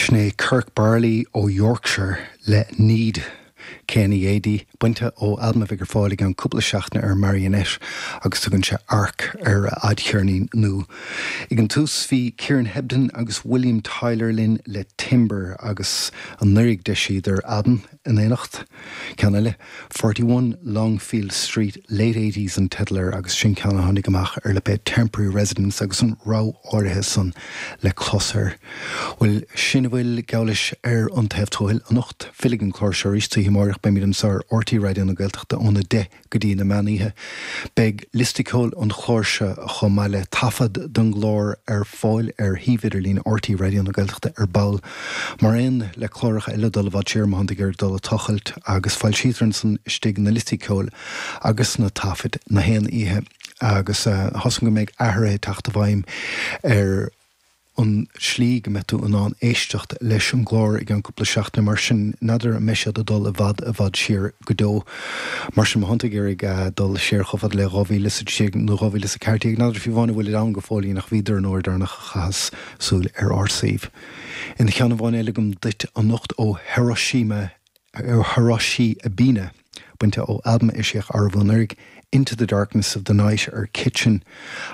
Sin é Kirk Barley ó Yorkshire le Need, KNEAD, bainte ó albam a bheidh ar fáil i gceann cúpla seachtaine ar Marionette agus tugann sé Arc ar a fhadcheirnín nua. Ag an tús bhí Kieran Hebden agus William Tyler linn le Timber agus anuraidh d'eisíodar albam in éineacht. Ceann eile, 41 Longfield Street, Late Eighties an teideal air agus sin ceann a tháinig amach ar lipéad Temporary Residence agus an rogha áirithe san le clos air. Bhuel, sin a bhfuil geall leis ar An Taobh Tuathail anocht. Fillfidh an clár seo arís oíche amárach. Beimid anseo ar RTÉ Raidió na Gaeltachta óna 10 go dtí na meán oíche. Beidh liosta ceoil an chláir seo chomh maith le taifead den gclár ar fáil ar shuíomh idirlín RTÉ Raidió na Gaeltachta ar ball, mar aon le cláracha eile dul i bhfad siar má thánn tú ag iarraidh dul ag tochailt, agus foilsítear ansan istigh na liostaí ceoil agus na taifid na haon oíche agus tá a fhios agam go mbeidh athruithe ag teacht i bhfeidhm ar an tslí go mbeidh tú in ann éisteacht leis an gclár i gceann cúpla seachtaine, mar sin n'fheadar an mbeidh siad ag dul i bhfad i bhfad siar go deo. Mar sin, má thánn tú ag iarraidh dul siar chomh fada le 2013 nó 2014, n'fheadar fiú amháin an bhfuilid ann go fóillín ach bhíodar an uair deireanach a chaitheas súil ar ár suíomh. Aon cheann amháin eile agam duit anocht ó Hiroshima Hiroshi Ebina, bainte ó albam a eisíodh arú anuraidh, Into the Darkness of the Night ar Kitchen,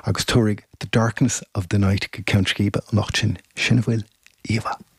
agus tabharfaidh The Darkness of the Night go ceann scríbe anocht sinn. Sin a bhfuil. Oíche mhaith.